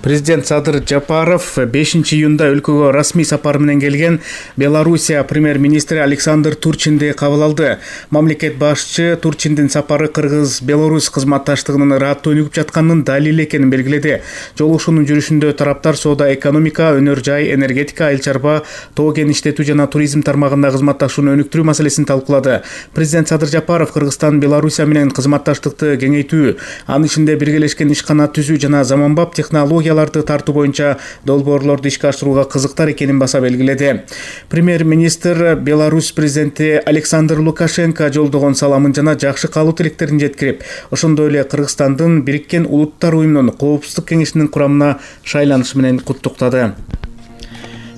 Президент Садыр Жапаров 5-июнда өлкөгө расмий сапар менен келген Белоруссия премьер-министри Александр Турчинди кабыл алды. Мамлекет башчы Турчиндин сапары Кыргыз-Беларусь кызматташтыгынын ыраттуу өнүгүп жатканынын далили экенин белгиледи. Жолугушуунун жүрүшүндө тараптар соода, экономика, өнөр жай, энергетика, айыл чарба, тоо кен иштетүү жана туризм тармагында кызматташууну өнүктүрүү маселесин талкуулады. Президент Садыр Жапаров Кыргызстан Белоруссия менен кызматташтыкты кеңейтүү, анын ичинде биргелешкен ишкана түзүү жана заманбап технологияларды тартуу боюнча долбоорлорду ишке ашырууга кызыктар экенин баса белгиледи. Премьер-министр Беларусь президенти Александр Лукашенко жолдогон саламын жана жакшы каалоо тилектерин жеткирип, ошондой эле Кыргызстандын Бириккен Улуттар уюмунун Коопсуздук кеңешинин курамына шайланышы менен куттуктады.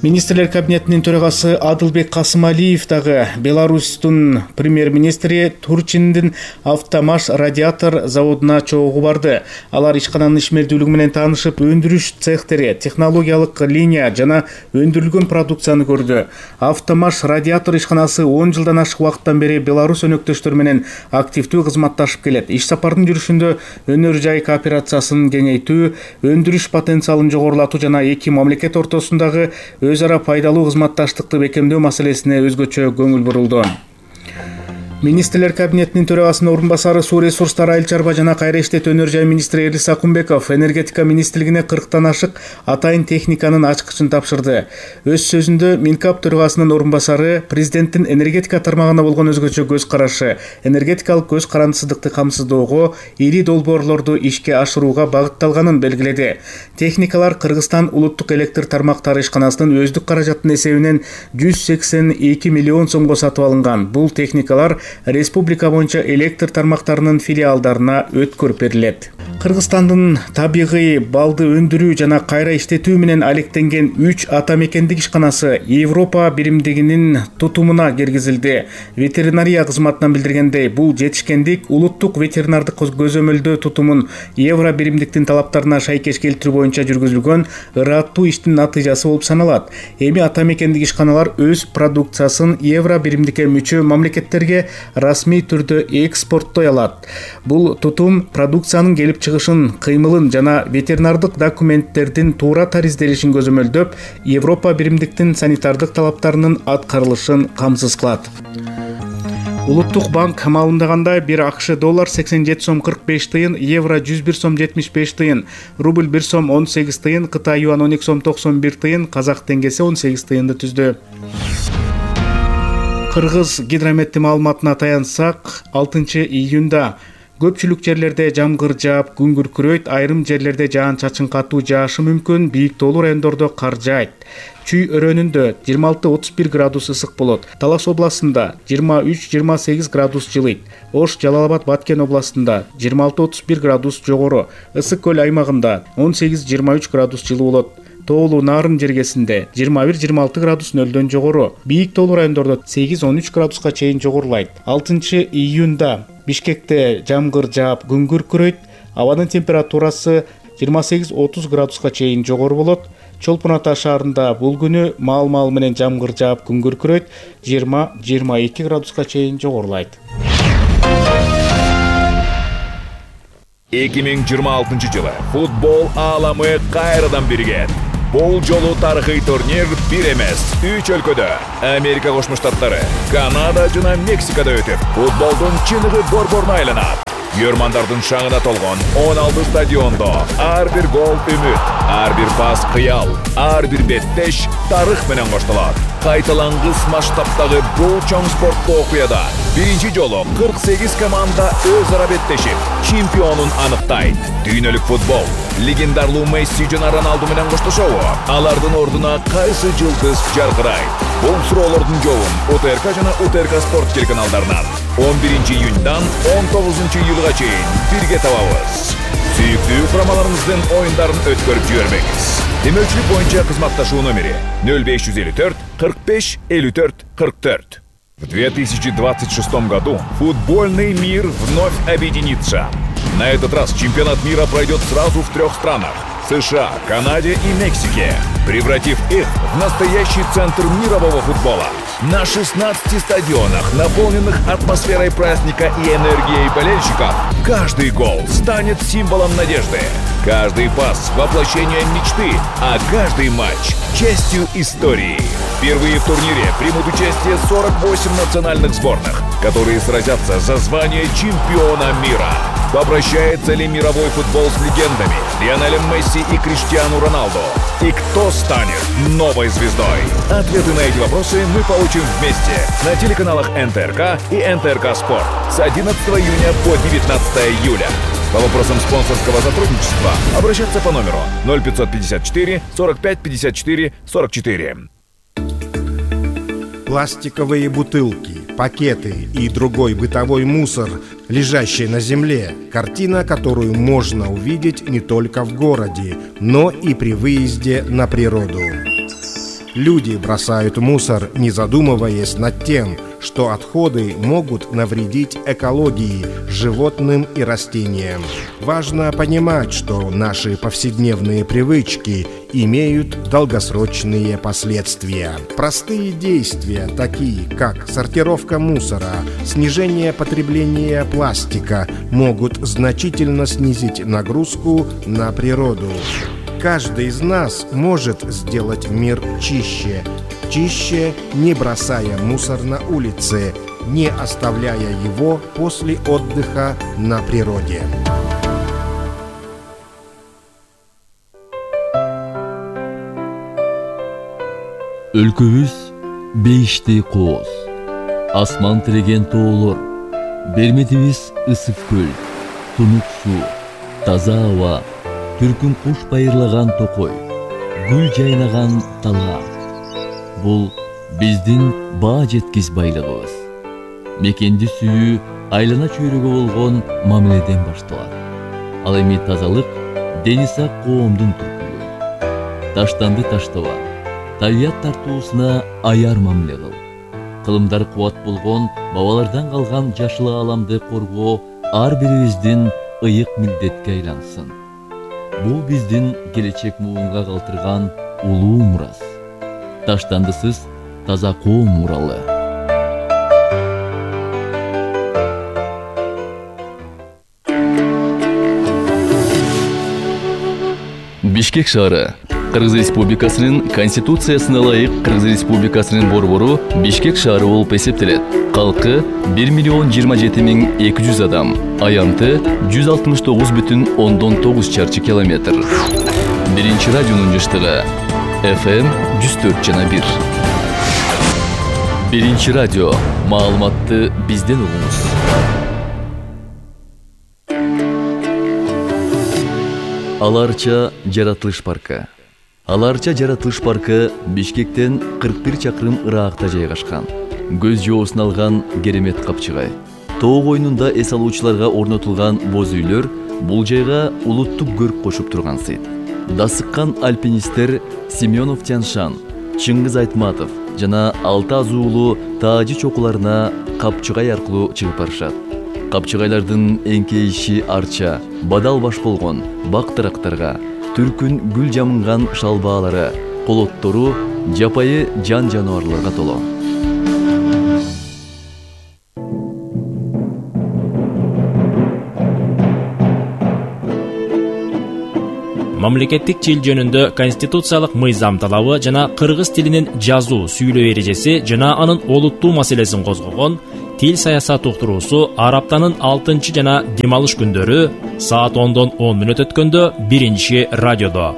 Министрлер кабинетинин төрагасы Адылбек Касымалиев дагы Беларустун премьер-министри Турчиндин автомаш радиатор заводуна чогуу барды. Алар ишкананын ишмердүүлүгү менен таанышып, өндүрүш цехтери, технологиялык линия жана өндүрүлгөн продукцияны көрдү. Автомаш радиатор ишканасы 10 жылдан ашык убакыттан бери Беларусь өнөктөштөр менен активдүү кызматташып келет. Иш сапардын жүрүшүндө өнөр жай кооперациясын кеңейтүү, өндүрүш потенциалын жогорулатуу жана эки мамлекет ортосундагы өз ара пайдалуу кызматташтыкты бекемдөө маселесине өзгөчө көңүл бурулду. Министрлер кабинетинин төрагасынын орун басары, суу ресурстары, айыл чарба жана кайра иштетүү, өнөр жай министри Эрлис Акунбеков энергетика министрлигине 40тан ашык атайын техниканын ачкычын тапшырды. Өз сөзүндө Минкап төрагасынын орун басары президенттин энергетика тармагына болгон өзгөчө көз карашы, энергетикалык көз карандысыздыкты камсыздоого, ири долбоорлорду ишке ашырууга багытталганын белгиледи. Техникалар Кыргызстан улуттук электр тармактары ишканасынын өздүк каражатынын эсебинен 182 миллион сомго сатып алынган. Бул техникалар республика боюнча электр тармактарынын филиалдарына өткөрүп берилет. Кыргызстандын табигый балды өндүрүү жана кайра иштетүү менен алектенген 3 ата мекендик ишканасы Европа биримдигинин тутумуна киргизилди. Ветеринария кызматынан билдиргендей, бул жетишкендик улуттук ветеринардык көзөмөлдөө тутумун Евро биримдиктин талаптарына шайкеш келтирүү боюнча жүргүзүлгөн ыраттуу иштин натыйжасы болуп саналат. Эми ата мекендик ишканалар өз продукциясын Евро биримдикке мүчө мамлекеттерге расмий түрдө экспорттой алат. Бул тутум продукциянын келип чыгышын, кыймылын жана ветеринардык документтердин туура таризделишин көзөмөлдөп, Европа биримдиктин санитардык талаптарынын аткарылышын камсыз кылат. Улуттук банк маалымдагандай, 1 АКШ доллар 87 сом 45 тыйын, евро 101 сом 75 тыйын, рубль 1 сом 18 тыйын, Кытай юан 12 сом 91 тыйын, казак теңгеси 18 тыйынды түздү. Кыргыз гидрометти маалыматына таянсак, 6-июнда көпчүлүк жерлерде жамгыр жаап, күн күркүрөйт, айрым жерлерде жаан-чачын катуу жаашы мүмкүн, бийик тоолуу райондордо кар жаайт. Чүй өрөөнүндө 26-31 градус ысык болот. Талас областында 23-28 градус жылыйт. Ош, Жалал-Абад, Баткен областында 26-31 градус жогору. Ысык көл аймагында 18-23 градус жылуу болот. Тоолуу Нарын жергесинде 21-26 градус нөлдөн жогору. Бийик тоолуу райондордо 8-13 градуска чейин жогорулайт. 6-июнда Бишкекте жамгыр жаап, күн күркүрөйт. Абанын температурасы 28-30 градуска чейин жогору болот. Чолпон Ата шаарында бул күнү маал менен жамгыр жаап, күн күркүрөйт. 20-22 градуска чейин жогорулайт. 2026 жылы футбол ааламы кайрадан биригет. Бул жолу тарыхый турнир бир эмес, 3 өлкөдө, Америка Кошмо Штаттары, Канада жана Мексикада өтүп, футболдун чыныгы борборуна айланат. Көрмандардын шаңына толгон 16 стадиондо ар бир гол үмүт, ар бир пас кыял, ар бир беттеш тарых менен коштолот. Кайталангыс масштабтагы бул чоң спорттуу окуяда биринчи жолу 48 команда өз ара беттешип, чемпионун аныктайт. Дүйнөлүк футбол легендарлуу Месси жана Роналду менен коштошобу? Алардын ордуна кайсы жылдыз жаркырайт? Бул суроолордун жообун УТРК жана УТРК спорт телеканалдарынан 11-июндан 19-июлга чейин бирге табабыз. Сүйүктүү курамаларыбыздын оюндарын өткөрүп жибербеңиз. Демөөлчүлүк боюнча кызматташуу номери 0554 45 54 44. В 2026 году футбольный мир вновь объединится. На этот раз чемпионат мира пройдет сразу в 3 странах – США, Канаде и Мексике, превратив их в настоящий центр мирового футбола. На 16 стадионах, наполненных атмосферой праздника и энергией болельщиков, каждый гол станет символом надежды. Каждый пас – воплощением мечты, а каждый матч – частью истории. Впервые в турнире примут участие 48 национальных сборных, которые сразятся за звание чемпиона мира. Попрощается ли мировой футбол с легендами Лионелем Месси и Криштиану Роналду? И кто станет новой звездой? Ответы на эти вопросы мы получим вместе на телеканалах НТРК и НТРК Спорт с 11 июня по 19 июля. По вопросам спонсорского сотрудничества обращаться по номеру 0554 45 54 44. Пластиковые бутылки, пакеты и другой бытовой мусор, лежащий на земле. Картина, которую можно увидеть не только в городе, но и при выезде на природу. Люди бросают мусор, не задумываясь над тем, что отходы могут навредить экологии, животным и растениям. Важно понимать, что наши повседневные привычки имеют долгосрочные последствия. Простые действия, такие как сортировка мусора, снижение потребления пластика, могут значительно снизить нагрузку на природу. Каждый из нас может сделать мир чище. Чище, не бросая мусор на улице, не оставляя его после отдыха на природе. Өлкөбүз бейиштей кооз, асман тиреген тоолор, берметибиз ысык көл, тунук суу, таза аба, түркүн куш байырлаган токой, гүл жайнаган талга. Бул биздин баа жеткис байлыгыбыз. Мекенди сүйүү айлана чөйрөгө болгон мамиледен башталат. Ал эми тазалык дени сак коомдун түркүлүгү. Таштанды таштаба, табият тартуусуна аяр мамиле кыл. Кылымдар кубат болгон бабалардан калган жашыл ааламды коргоо ар бирибиздин ыйык милдетке айлансын. Бул биздин келечек муунга калтырган улуу мурас. Таштандысыз таза коом муралы. Бишкек шаары Кыргыз Республикасынын Конституциясына ылайык Кыргыз Республикасынын борбору Бишкек шаары болуп эсептелет. Калкы 1,027,200 адам, аянты 169,9 чарчы километр. Биринчи радионун жыштыгы FM 104,1. Биринчи радио. Маалыматты бизден угуңуз. Аларча жаратылыш паркы. Аларча жаратылыш паркы Бишкектен 41 чакырым ыраагта жайгашкан. Көз жоосун алган керемет капчыгай. Тоо койнунда эс алуучуларга орнотулган боз үйлөр бул жайга улуттук көрк кошуп турган сыйт. Дасыккан альпинисттер Семенов Тяншан, Чыңгыз Айтматов жана 6 азуулуу таажы чокуларына капчыгай аркылуу чыгып барышат. Капчыгайлардын эңкейиши арча, бадал баш болгон бактырактарга, түркүн гүл жамынган шалбаалары, колоттору жапайы жан жаныбарларга толо. Мамлекеттик тил жөнүндө конституциялык мыйзам талабы жана кыргыз тилинин жазуу, сүйлөө эрежеси жана анын олуттуу маселесин козгогон Тил саясат уктуруусу ар аптанын 6 жана дем алыш күндөрү саат 10дон 10 мүнөт өткөндө биринчи радиодо.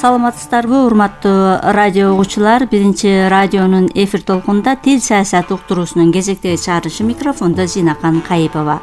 Саламатсыздарбы, урматтуу радио угуучулар. Биринчи радионун эфир толкунда тил саясат уктуруусунун кезектеги чыгарышы, микрофондо Зинакан Кайыпова.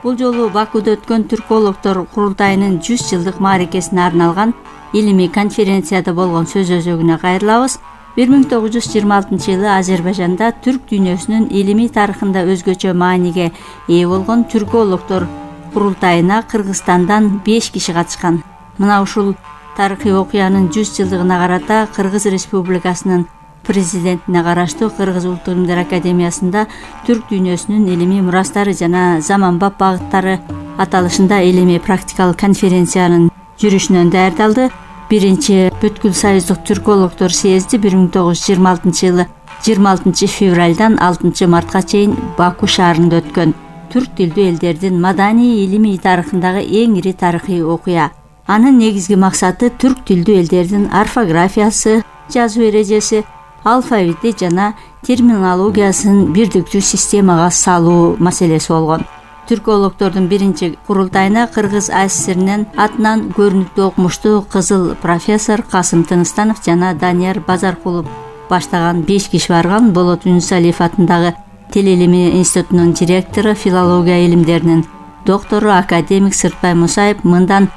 Бул жолу Бакууда өткөн түркологдор курултайынын 100 жылдык мааракесине арналган илимий конференцияда болгон сөз өзөгүнө кайрылабыз. 1926 жылы Азербайжанда түрк дүйнөсүнүн илимий тарыхында өзгөчө мааниге ээ болгон түркологдор курултайына Кыргызстандан 5 киши катышкан. Мына ушул тарыхый окуянын 100 жылдыгына карата Кыргыз Республикасынын президентине караштуу Кыргыз Улуттук илимдер академиясында түрк дүйнөсүнүн илимий мурастары жана заманбап багыттары аталышында илимий практикалык конференциянын жүрүшүнөн даярдалды. Биринчи бүткүл союздук түркологдор съезди 1926 жылы 26 февралдан 6 мартка чейин Баку шаарында өткөн. Түрк тилдүү элдердин маданий илимий тарыхындагы эң ири тарыхый окуя. Анын негизги максаты түрк тилдүү элдердин орфографиясы, жазуу эрежеси, алфавити жана терминологиясын бирдиктүү системага салуу маселеси болгон. Түркологдордун биринчи курултайына Кыргыз АССРнин атынан көрүнүктүү окумуштуу кызыл профессор Касым Тыныстанов жана Данияр Базаркулов баштаган 5 киши барган. Болот Үнсалиев атындагы Тил илими институтунун директору, филология илимдеринин доктору академик Сыртбай Мусаев мындан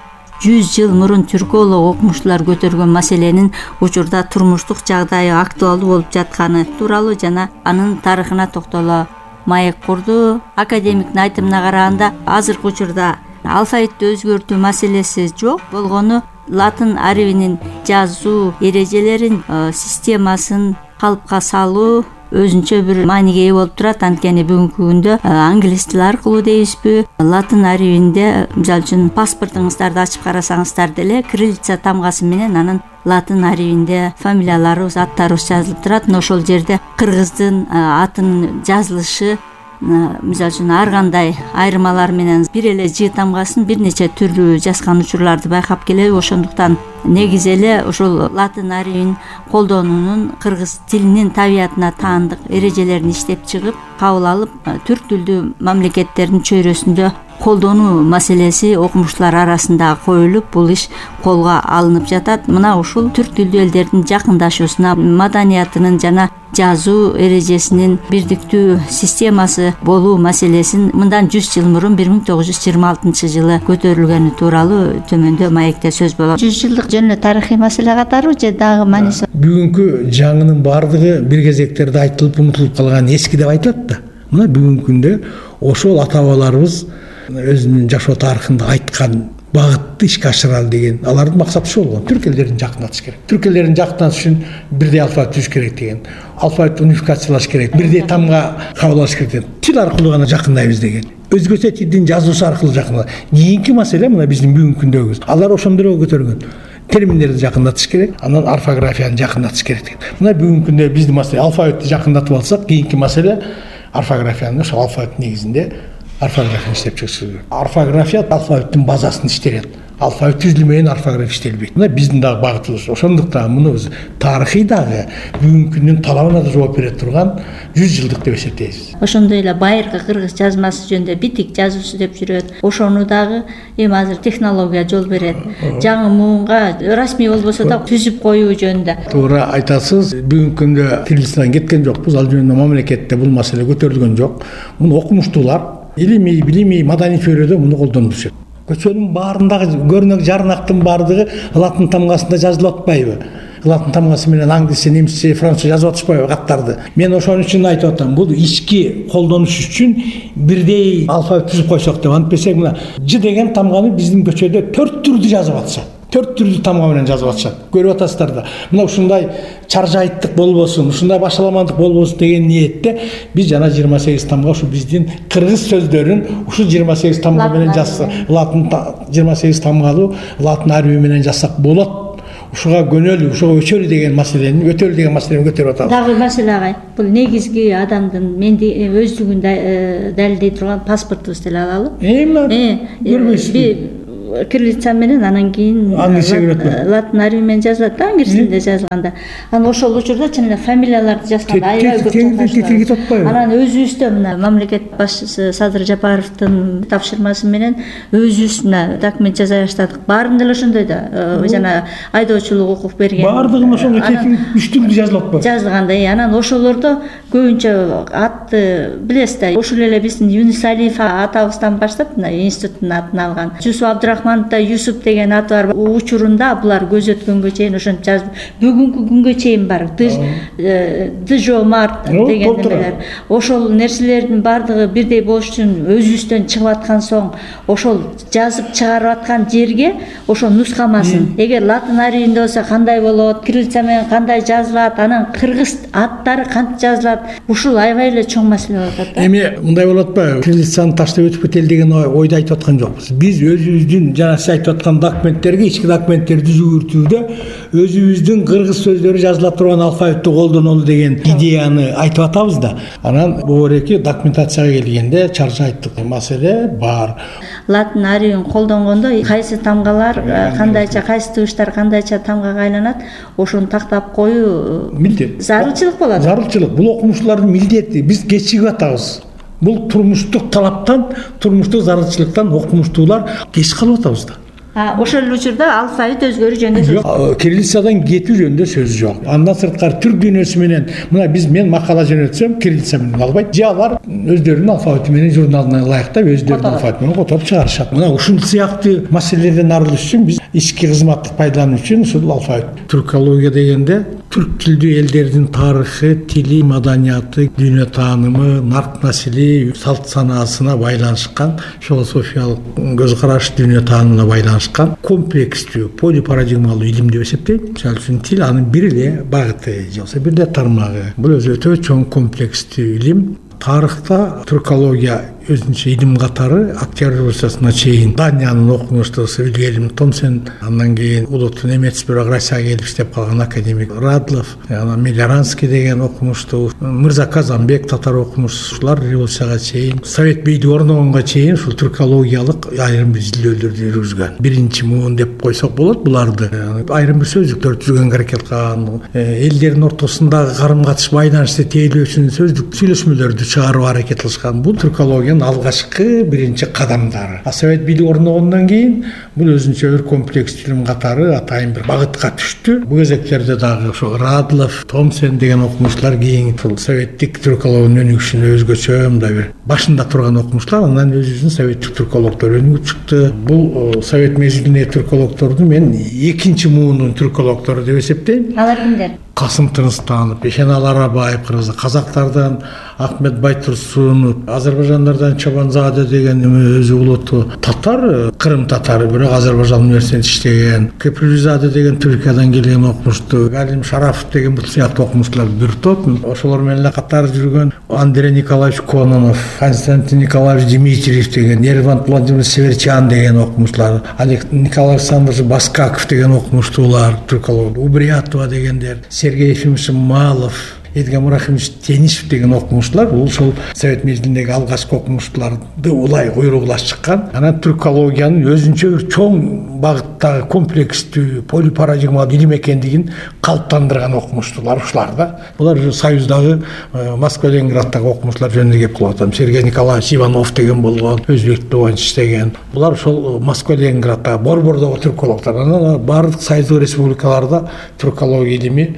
100 жыл мурун түрколог окумуштуулар көтөргөн маселенин учурда турмуштук жагдайы актуалдуу болуп жатканы тууралуу жана анын тарыхына токтоло маек курду. Академиктин айтымына караганда, азыркы учурда алфавитти өзгөртүү маселеси жок болгону латын арабинин жазуу эрежелерин, системасын калыпка салуу өзүнчө бир мааниге ээ болуп турат. Анткени бүгүнкү күндө англис тили аркылуу дейбизби, латын арабинде мисалы үчүн паспортуңуздарды ачып карасаңыздар деле кириллица тамгасы менен анын латын арабинде фамилияларыбыз, аттарыбыз жазылып турат. Ошол жерде кыргыздын атынын жазылышы мисалы үчүн ар кандай айырмалар менен бир эле Ж тамгасын бир нече түрлүү жазган учурларды байкап келеби. Ошондуктан негизи эле ушул латын арабин колдонуунун кыргыз тилинин табиятына таандык эрежелерин иштеп чыгып, кабыл алып, түрк тилдүү мамлекеттердин чөйрөсүндө колдонуу маселеси окумуштуулар арасында коюлуп, бул иш колго алынып жатат. Мына ушул түрк тилдүү элдердин жакындашуусуна, маданиятынын жана жазуу эрежесинин бирдиктүү системасы болуу маселесин мындан 100 жыл мурун 1926 жылы көтөрүлгөнү тууралуу төмөндө маекте сөз болот. 100 жылдык жөн эле тарыхый маселе катарбы же дагы мааниси? Бүгүнкү жаңынын баардыгы бир кезектерде айтылып унутулуп калган эски деп айтылат да. Мына бүгүнкү күндө ошол ата бабаларыбыз өзүнүн жашоо тарыхында айткан багытты ишке ашыралы деген алардын максаты ушул болгон. Түрк элдерин жакындатыш керек. Түрк элдерин жакындатыш үчүн бирдей алфавит түзүш керек деген. Алфавитти унификациялаш керек. Бирдей тамга кабыл алыш керек деген. Тил аркылуу гана жакындайбыз деген. Өзгөчө тилдин жазуусу аркылуу жакындалат. Кийинки маселе мына биздин бүгүнкү күндөгүбүз. Алар ошондой эле көтөргөн. Терминдерди жакындатыш керек, анан орфографияны жакындатыш керек деген. Мына бүгүнкү күндө биздин маселе алфавитти жакындатып алсак, кийинки маселе орфографияны ошол алфавит негизинде орфографияны иштеп чыгыш. Орфография алфавиттин базасын иштелет. Алфавит түзүлмөйөн орфография иштелбейт. Мына биздин дагы багытыбыз. Ошондуктан муну биз тарыхый дагы бүгүнкү күндүн талабына да жооп бере турган 100 жылдык деп эсептейбиз. Ошондой эле байыркы кыргыз жазмасы жөнүндө битик жазуусу деп жүрөт. Ошону дагы эми азыр технология жол берет. Жаңы муунга расмий болбосо да түзүп коюу жөнүндө. Туура айтасыз. Бүгүнкү күндө кириллицадан кеткен жокпуз. Ал жөнүндө мамлекетте бул маселе көтөрүлгөн жок. Муну окумуштуулар илимий, билимий, маданий чөйрөдө муну колдонуп жүрөт. Көчөнүн баарындагы көрнөк жарнактын баардыгы латын тамгасында жазылып атпайбы? Латын тамгасы менен англисче, немисче, французча жазып атышпайбы каттарды? Мен ошон үчүн айтып атам, бул ички колдонуш үчүн бирдей алфавит түзүп койсок деп. Антпесек мына Ж деген тамганы биздин көчөдө 4 түрдүү жазып атышат. 4 түрдүү тамга менен жазып атышат. Көрүп атасыздар да. Мына ушундай чаржайттык болбосун, ушундай башаламандык болбосун деген ниетте биз жана 28 тамга ушу биздин кыргыз сөздөрүн ушу 28 тамга менен жазса, латын 28 тамгалуу латын арби менен жазсак болот. Ушуга көнөлү, ушуга өчөлү деген маселени, көтөрүп атабыз. Дагы маселе агай, бул негизги адамдын өздүгүн далилдей турган паспортубуз деле алалы. Көрбөйсүзбү? Кириллица менен анан кийин латын арби менен жазылат да, англис тилинде жазылганда. Анан ошол учурда чын эле фамилияларды жазганда аябай көп. Анан өзүбүздө мына мамлекет башчысы Садыр Жапаровдун тапшырмасы менен өзүбүз мына документ жаза баштадык. Баарында эле ошондой да, жана айдоочулук укук берген. Баардыгын ошондой үч түрдүү жазылып атпайбы? Жазылганда, анан ошолордо көбүнчө атты билесиз да, ошол эле биздин Юнус Алиев атабыздан баштап мына институттун атын алган. Жусуп Абдурахманов да Юсуп деген аты бар. Учурунда булар көз өткөнгө чейин ошентип жазып, бүгүнкү күнгө чейин бар. Джо Март деген нерселер. Ошол нерселердин бардыгы бирдей болуш үчүн өзүбүздөн чыгып аткан соң ошол жазып чыгарып аткан жерге ошол нускамасын. Эгер латын арийинде болсо кандай болот, кириллица менен кандай жазылат, анан кыргыз аттары кантип жазылат, ушул аябай эле чоң маселе болуп атат. Эми мындай болуп атпайбы? Кириллицаны таштап өтүп кетели деген ойду айтып аткан жокпуз. Биз өзүбүздүн жана сиз айтып аткан документтерге, ички документтерди жүгүртүүдө өзүбүздүн кыргыз сөздөрү жазыла турган алфавитти колдонолу деген идеяны айтып атабыз да. Анан бобуреки документацияга келгенде чарча айттык. Маселе бар. Латын арийин колдонгондо кайсы тамгалар кандайча, кайсы тыбыштар кандайча тамгага айланат, ошону тактап коюу милдет. Зарылчылык болот. Зарылчылык. Бул окумуштуулардын милдети. Биз кечигип атабыз. Бул турмуштук талаптан, турмуштук зарылчылыктан окумуштуулар кеч калып атабыз да. Ошол эле учурда алфавит өзгөрүү жөнүндө сөз жок. Кириллицадан кетүү жөнүндө сөз жок. Андан сырткары түрк дүйнөсү менен мына мен макала жөнөтсөм кириллица менен албайт. Же алар өздөрүнүн алфавити менен журналына ылайыктап өздөрүнүн алфавити менен которуп чыгарышат. Мына ушул сыяктуу маселелерден арылыш үчүн биз ички кызматтык пайдалануу үчүн ушул алфавит. Түркология дегенде түрк тилдүү элдердин тарыхы, тили, маданияты, дүйнө таанымы, нарк насили, салт санаасына байланышкан, философиялык көз караш, дүйнө таанымына байланышкан комплекстүү, полипарадигмалуу илим деп эсептейм. Мисалы үчүн тил анын бир эле багыты, же болбосо бир эле тармагы. Бул өзү өтө чоң комплекстүү илим. Тарыхта түркология өзүнчө илим катары Октябрь революциясына чейин Даниянын окумуштуусу Вильгельм Томсен, андан кийин улуттуу немец бюрократияга келип иштеп калган академик Радлов, анан Милоранский деген окумуштуу, Мырза Казанбек татар окумуштуулар революцияга чейин, Совет бийлиги орногонго чейин ушул түркологиялык айрым бир изилдөөлөрдү жүргүзгөн. Биринчи муун деп койсок болот буларды. Айрым бир сөздүктөр түзгөнгө аракет кылган, элдердин ортосундагы карым-катыш байланышты тейлөө үчүн сөздүк сүйлөшмөлөрдү чыгарууга аракет кылышкан. Бул түркология алгачкы биринчи кадамдары. Совет бийлиги орногондон кийин бул өзүнчө бир комплекстүү илим катары атайын бир багытка түштү. Бул кезектерде дагы ошо Радлов, Томсен деген окумуштуулар кийин советтик түркологиянын өнүгүшүнө өзгөчө мындай бир башында турган окумуштуулар, анан өзүбүздүн советтик түркологдор өнүгүп чыкты. Бул совет мезгилиндеги түркологдорду мен экинчи муунун түркологдору деп эсептейм. Алар кимдер? Касым Тынстанов, Ешенал Арабаев, казактардан Ахмет Байтурсунов, азербайжандардан Чобанзаде деген өзү улуттуу татар, Кырым татары, бирок Азербайжан университетинде иштеген, Кепризаде деген Түркиядан келген окумуштуу, Галим Шарафов деген бул сыяктуу окумуштуулар бир топ. Ошолор менен эле катар жүргөн Андрей Николаевич Кононов, Константин Николаевич Дмитриев деген, Ервант Владимирович Северчан деген окумуштуулар, Николай Александрович Баскаков деген окумуштуулар, түрколог, Убриятова дегендер, Сергей Ефимович Малов, Эдгам Рахимович Тенишев деген окумуштуулар, бул ошол совет мезгилиндеги алгачкы окумуштууларды улай куйругулаш чыккан. Анан түркологиянын өзүнчө бир чоң багыттагы комплекстүү полипарадигмалуу илим экендигин калыптандырган окумуштуулар ушулар да. Булар Союздагы Москва Ленинграддагы окумуштуулар жөнүндө кеп кылып атам. Сергей Николаевич Иванов деген болгон, өзбек боюнча иштеген. Булар ошол Москва Ленинграддагы борбордогу түркологдор. Анан бардык союздук республикаларда түркология илими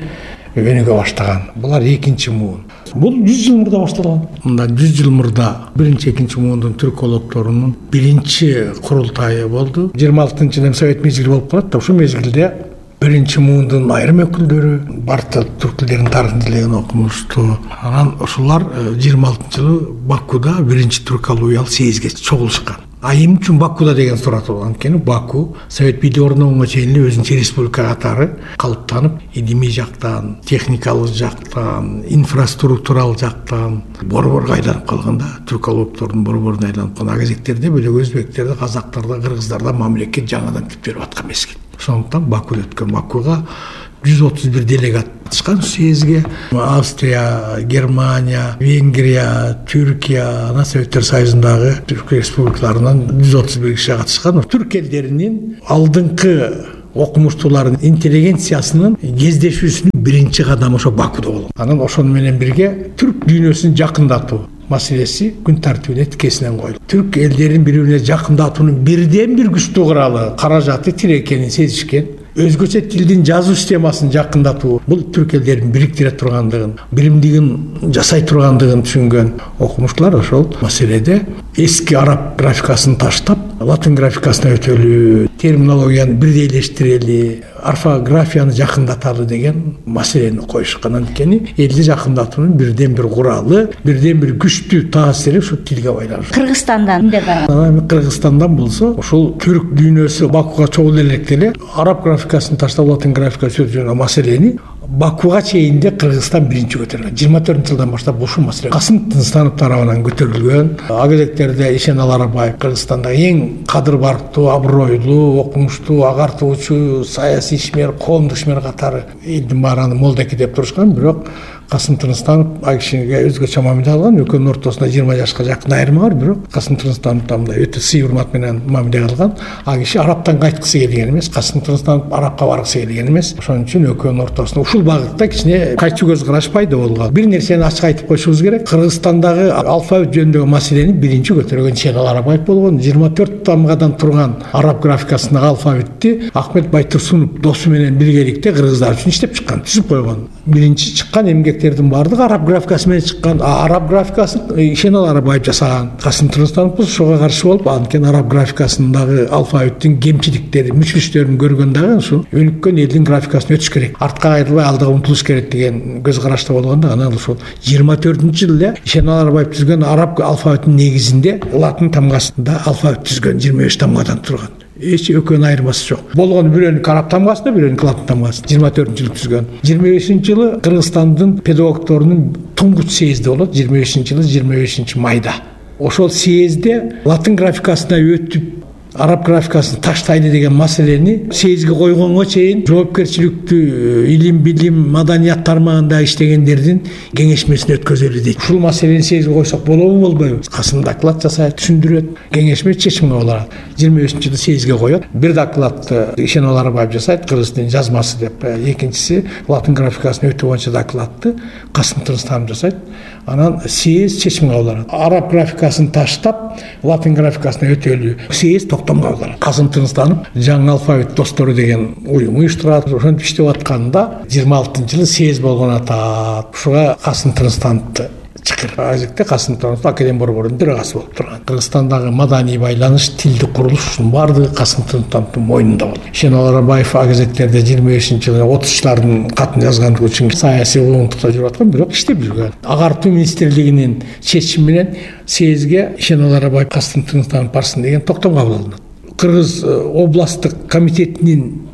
өнүгө баштаган. Булар экинчи муун. Бул 100 жыл мурда башталган. Мында 100 жыл мурда биринчи, экинчи муундун түркологдорунун биринчи курултайы болду. 26-жылы совет мезгили болуп калат да, ошол мезгилде биринчи муундун айрым өкүлдөрү барты түрк тилдеринин тарыхын изилеген окумуштуу. Анан ошолар 26-жылы Бакуда биринчи түркологиялык съездге чогулушкан. Айым үчүн Бакуда деген сурат болгон. Анткени Баку совет бийлиги орногонго чейин өзүнчө республика катары калыптанып, илимий жактан, техникалык жактан, инфраструктуралык жактан борборго айланып калганда, түркологдордун борборуна айланып калган. Кезектерде бөлөк өзбектерде, казактарда, кыргыздарда мамлекет жаңадан түп берип аткан мезгил. Ошондуктан Бакуда өткөн. Бакуга 131 делегат катышкан съездге. Австрия, Германия, Венгрия, Түркия, Советтер Союзундагы түрк республикаларынан 131 киши катышкан. Түрк элдеринин алдыңкы окумуштуулардын интеллигенциясынын кездешүүсүнүн биринчи кадамы ошо Бакуда болгон. Анан ошону менен бирге түрк дүйнөсүн жакындатуу маселеси күн тартибине тикесинен коюлду. Түрк элдерин бири-бирине жакындатуунун бирден бир күчтүү куралы, каражаты тил экенин сезишкен. Өзгөчө тилдин жазуу системасын жакындатуу, бул түрк элдерин бириктире тургандыгын, биримдигин жасай тургандыгын түшүнгөн окумуштуулар ошол маселеде эски араб графикасын таштап, латын графикасына өтөлү, терминологияны бирдейлештирели, орфографияны жакындаталы деген маселени коюшкан. Анткени элди жакындатуунун бирден бир куралы, бирден бир күчтүү таасири ушу тилге байланыштуу. Кыргызстандан эмне барган? Кыргызстандан болсо ушул түрк дүйнөсү Бакуга чогул электе эле араб графикасын таштап латын графикасы өтүшөн маселени Бакуга чейинде Кыргызстан биринчи көтөргөн. 24-жылдан баштап ушул маселе Касым Тынстанов тарабынан көтөрүлгөн. Агелектерде Ишен Аларбаев Кыргызстандагы эң кадыр барктуу, абройлуу, окумуштуу, агартуучу, саясий ишмер, коомдук ишмер катары элдин баарын молдеки деп турушкан. Бирок Касым Тынстанов ал кишиге өзгөчө мамиле алган. Экөөнүн ортосунда 20 жашка жакын айырма бар, бирок Касым Тынстанов мындай өтө сый урмат менен мамиле кылган. Ал киши арабтан кайткысы келген эмес, Касым Тынстанов арабка баргысы келген эмес. Ошон үчүн экөөнүн ортосунда ушул багытта кичине кайчы көз караш пайда болгон. Бир нерсени ачык айтып коюшубуз керек. Кыргызстандагы алфавит жөнүндөгү маселени биринчи көтөргөн Ишен Аларбаев болгон. 24 тамгадан турган араб графикасындагы алфавитти Ахмет Байтурсунов досу менен биргеликте кыргыздар үчүн иштеп чыккан, түзүп койгон. Биринчи чыккан эмгектердин баардыгы араб графикасы менен чыккан. Араб графикасын Ишен Аларбаев жасаган. Касым Тынстанов ошого каршы болуп, анткени араб графикасындагы алфавиттин кемчиликтери, мүчүлүштөрүн көргөн дагы ушул өнүккөн элдин графикасын өтүш керек. Артка кайрылбай алдыга умтулуш керек деген көз карашта болгондо анан ушул 24-жылы эле Ишен Аларбаев түзгөн араб алфавитинин негизинде латын тамгасында алфавит түзгөн 25 тамгадан турган. Эч экөөнүн айырмасы жок. Болгону бирөөнүкү араб тамгасында, бирөөнүкү латын тамгасында 24-жылы түзгөн. 25-жылы Кыргызстандын педагогторунун туңгуч съезди болот. 25-жылы 25 майда. Ошол съездде латын графикасына өтүп араб графикасын таштайлы деген маселени съездге койгонго чейин жоопкерчиликтүү илим, билим, маданият тармагында иштегендердин кеңешмесин өткөзөлү дейт. Ушул маселени съездге койсок болобу, болбойбу? Касым доклад жасайт, түшүндүрөт. Кеңешме чечим кабыл алат. 25-жылы съездге коет. Бир докладты Ишен Аларбаев жасайт, кыргыз тилинин жазмасы деп. Экинчиси латын графикасын өтүү боюнча докладты Касым Тынстанов жасайт. Анан съезд чечим кабыл алат. Араб графикасын таштап, латын графикасына өтөлү. Съезд токтом кабыл алат. Касым Тынстанов жаңы алфавит достору деген уюм уюштурат. Ошентип иштеп атканда 26-жылы съезд болгон атат. Ушуга Касым Тынстановду чакыр. Азекте Касым Тынстанов академия борборунун төрагасы болуп турган. Кыргызстандагы маданий байланыш, тилдик курулуштун баардыгы Касым Тынстановдун мойнунда болду. Ишен Аларбаев агезектерде 25-жылы 30-члардын катын жазгандыгы үчүн саясий уюмдукта жүрүп аткан, бирок иштеп жүргөн. Агартуу министрлигинин чечими менен съездге Ишен Аларбаев Касым Тынстанов барсын деген токтом кабыл алынат. Кыргыз областтык комитетинин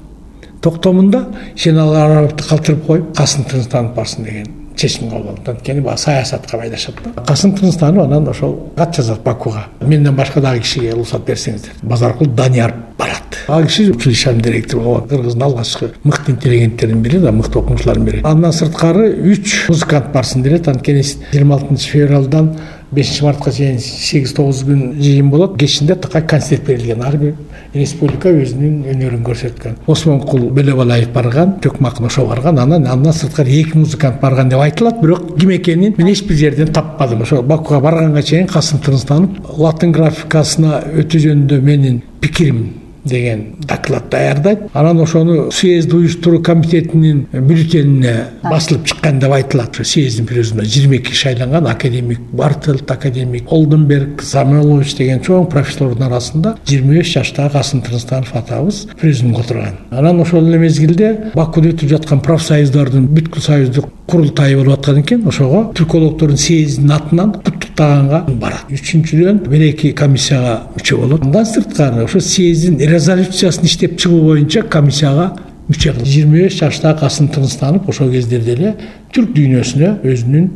токтомунда Ишен Аларбаевди калтырып коюп Касым Тынстанов барсын деген чечим кабыл алынат. Анткени баа саясатка байлашат да. Касым Тынстанов анан ошол кат жазат Бакуга. Менден башка дагы кишиге уруксат берсеңиздер. Базаркул Данияр барат. Ал киши училищанын директору болгон. Кыргыздын алгачкы мыкты интеллигенттердин бири да, мыкты окумуштуулардын бири. Андан сырткары 3 музыкант барсын делет. Анткени 26 февралдан 5 мартка чейин 8-9 күн жыйын болот. Кечинде такай концерт берилген. Ар бир республика өзүнүн өнөрүн көрсөткөн. Осмонкул Бөлөбалаев барган, Төкмакын ошо барган. Андан сырткары 2 музыкант барган деп айтылат, бирок ким экенин мен эч бир жерден таппадым. Ошо Бакуга барганга чейин Касым Тынстанов латын графикасына өтүү жөнүндө менин пикирим деген доклад даярдайт. Анан ошону съезд уюштуруу комитетинин бюллетенине басылып чыккан деп айтылат. Съездин президентине 22 шайланган академик Бартелт, академик Олденберг, Самойлович деген чоң профессорлордун арасында 25 жаштагы Касым Тынстанов атабыз президент отурган. Анан ошол эле мезгилде Бакуда өтүп жаткан профсоюздардын бүткүл союздук курултайы болуп аткан экен. Ошого түркологдордун съездинин атынан куттуктаганга барат. Үчүнчүдөн бир эки комиссияга мүчө болот. Андан сырткары ошо съездин резолюциясын иштеп чыгуу боюнча комиссияга мүчө кылып 25 жаштагы Касым Тынстанов ошол кездерде эле түрк дүйнөсүнө өзүнүн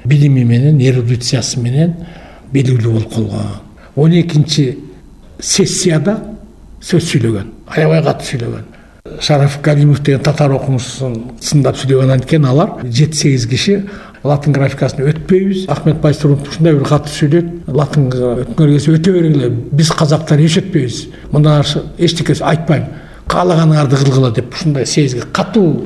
билими менен, эрудициясы менен белгилүү болуп калган. 12-чи сессияда сөз сүйлөгөн, аябай катуу сүйлөгөн. Шараф Галимов деген татар окумуштусын сындап сүйлөгөн. Анткени алар 7-8 киши латын графикасын өтпөйбүз. Ахмет Байтурсунов ушундай бир катуу сүйлөйт. Латынга өткөнгө өтө бергиле. Биз казактар эч өтпөйбүз. Мындан эчтеке айтпайм. Каалаганыңарды кылгыла деп ушундай съездге катуу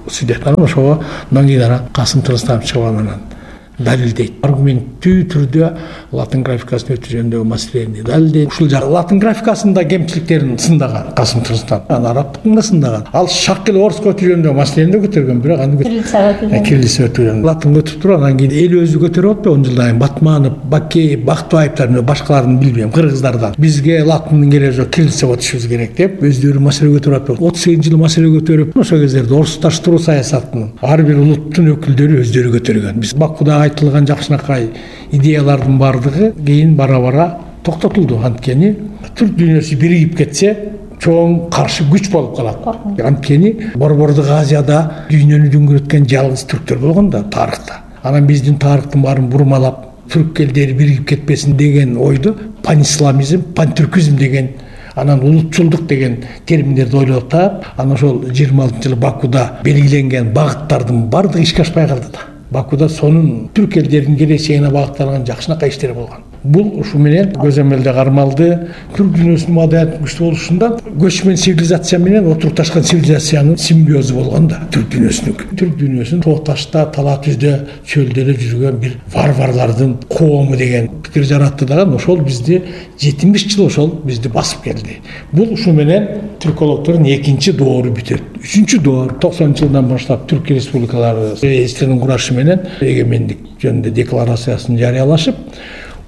сүйлөйт. Анан ошого кийин Касым Тынстанов чыгып анан далилдейт. Аргументтүү түрдө латын графикасын өтүү жөнүндөгү маселени далилдейт. Ушул жак латын графикасында кемчиликтерин сындаган Касым Тынстанов. Анан арабтыкын да сындаган. Ал шак эле орусча өтүү жөнүндөгү маселени да көтөргөн, бирок аны кириллица өтүү жөнүндө латын өтүп туруп анан кийин эл өзү көтөрүп атпайбы 10 жылдан кийин Батманов, Бакеев, Бактыбаевдер, башкаларын билбейм, кыргыздардан бизге латындын кереги жок, кириллица өтүшүбүз керек деп өздөрү маселе көтөрүп атпайбы. 38 маселе көтөрүп, ошол кездерде орусташтыруу саясатын ар бир улуттун өкүлдөрү өздөрү көтөргөн. Биз Бакуда айтылган жакшынакай идеялардын баардыгы кийин бара токтотулду. Анткени түрк дүйнөсү биригип кетсе чоң каршы күч болуп калат. Анткени Борбордук Азияда дүйнөнү дүңгүрөткөн жалгыз түрктөр болгон да тарыхта. Анан биздин тарыхтын баарын бурмалап түрк элдери биригип кетпесин деген ойду панисламизм, пантүркизм деген, анан улутчулдук деген терминдерди ойлоп таап, анан ошол 26-жылы Бакуда белгиленген багыттардын баардыгы ишке ашпай калды да. Бакуда сонун түрк элдеринин келечегине багытталган жакшынакай иштер болгон. Бул ушу менен көзөмөлдө кармалды. Түрк дүйнөсүнүн маданиятынын күчтүү болушундан көчмөн цивилизация менен отурукташкан цивилизациянын симбиозу болгон да түрк дүйнөсүнүн. Түрк дүйнөсүн тоо ташта, тала түздө, чөлдөрдө жүргөн бир варварлардын коому деген пикир жаратты дагы. Ошол бизди 70 жыл ошол бизди басып келди. Бул ушу менен түркологдордун экинчи доору бүтөт. Үчүнчү доор 90-жылдан баштап Түрк республикалары СССРдин курашы менен эгемендик жөнүндө декларациясын жарыялашып,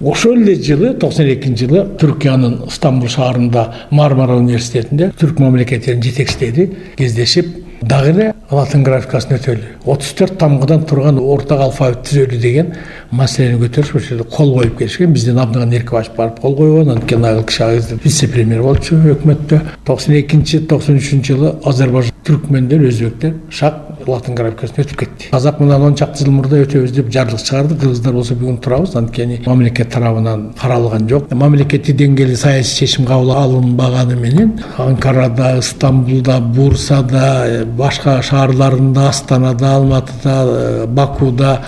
ошол эле жылы 92-жылы Түркиянын Стамбул шаарында Мармара университетинде түрк мамлекеттеринин жетекчилери кездешип дагы эле латын графикасын өтөлү, 34 тамгадан турган ортак алфавит түзөлү деген маселени көтөрүп ошол кол коюп келишкен. Бизден Абдыган Эркебаев барып кол койгон, анткени айыл киши вице-премьер болчу өкмөттө. 92-93-жылы Азербайжан түркмендер, өзбектер шак латын графикасын өтүп кетти. Казак мындан 10 чакты жыл мурда өтөбүз деп жарлык чыгарды. Кыргыздар болсо бүгүн турабыз, анткени мамлекет тарабынан каралган жок. Мамлекеттик деңгээлде саясий чечим кабыл алынбаганы менен Анкарада, Стамбулда, Бурсада, башка шаарларында, Астанада, Алматыда, Бакуда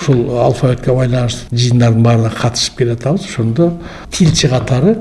ушул алфавитке байланыштуу жыйындардын баарына катышып келатабыз. Ошондо тилчи катары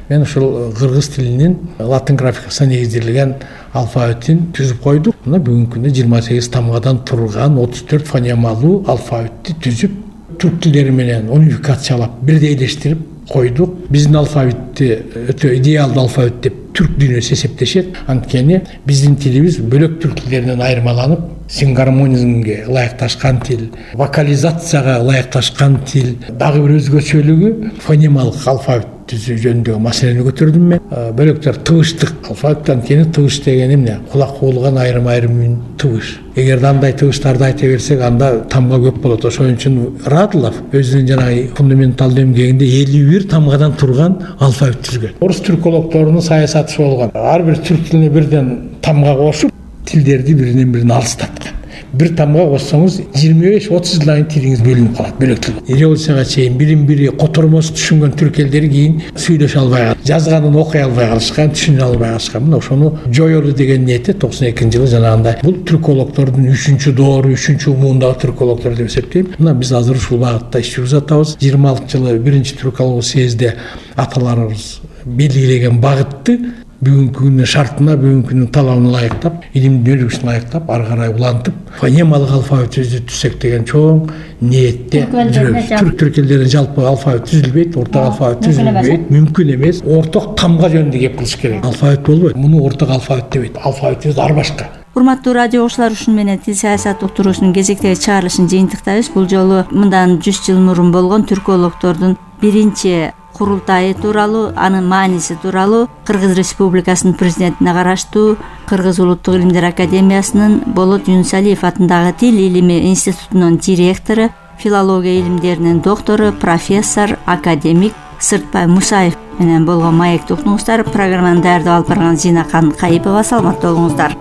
мен ушул кыргыз тилинин латын графикасына негизделген алфавитин түзүп койдук. Мына бүгүнкү күндө 28 тамгадан турган 34 фонемалуу алфавитти түзүп, түрк тилдери менен унификациялап, бирдейлештирип койдук. Биздин алфавитти өтө идеалдуу алфавит деп түрк дүйнөсү эсептешет. Анткени биздин тилибиз бөлөк түрк тилдеринен айырмаланып, сингармонизмге ылайыкташкан тил, вокализацияга ылайыкташкан тил. Дагы бир өзгөчөлүгү фонемалык алфавит түзүү жөнүндөгү маселени көтөрдүм мен. Бөлөктөр тыбыштык алфавит, анткени тыбыш деген эмне? Кулак угулган айрым-айрым үн тыбыш. Эгерде андай тыбыштарды айта берсек, анда тамга көп болот. Ошон үчүн Радылов өзүнүн жанагы фундаменталдуу эмгегинде 51 тамгадан турган алфавит түзгөн. Орус түркологдорунун саясаты болгон. Ар бир түрк тилине бирден тамга кошуп, тилдерди биринен бирин алыстаткан. Бир тамга коссоңуз 25-30 жылдан кийин тилиңиз бөлүнүп калат, бөлөк тил. Революцияга чейин бирин-бири котормосу түшүнгөн түрк элдери кийин сүйлөшө албай калды. Жазганын окуй албай калышкан, түшүнө албай калышкан. Мына ошону жоёлу деген ниетте 92-жылы жанагындай бул түркологдордун 3-чү доору, 3-чү умуундагы түркологдор деп эсептейм. Мына биз азыр ушул багытта иш жүргүзүп атабыз. 26-жылы 1-түркологиялык съездде аталарыбыз белгилеген багытты бүгүнкү күнүн шартына, бүгүнкү күнүн талабына ылайыктап, илимдин өнүгүшүнө ылайыктап, ары карай улантып, фонемалык алфавит түзсөк деген чоң ниетте жүрөбүз. Түрк элдеринин жалпы алфавит түзүлбөйт, ортак алфавит түзүлбөйт, мүмкүн эмес. Орток тамга жөнүндө кеп кылыш керек. Алфавит болбойт. Муну орток алфавит дебейт. Алфавитибиз ар башка. Урматтуу радио окуучулар, ушуну менен тил саясат уктуруусунун кезектеги чыгарылышын жыйынтыктайбыз. Бул жолу мындан 100 жыл мурун болгон түркологдордун биринчи курултайы тууралуу, анын мааниси тууралуу Кыргыз Республикасынын президентине караштуу Кыргыз Улуттук илимдер академиясынын Болот Юнусалиев атындагы Тил илими институтунун директору, филология илимдеринин доктору, профессор, академик Сыртбай Мусаев менен болгон маекти уктуңуздар. Программаны даярдап алып барган Зинакан Кайыпова. Саламатта болуңуздар.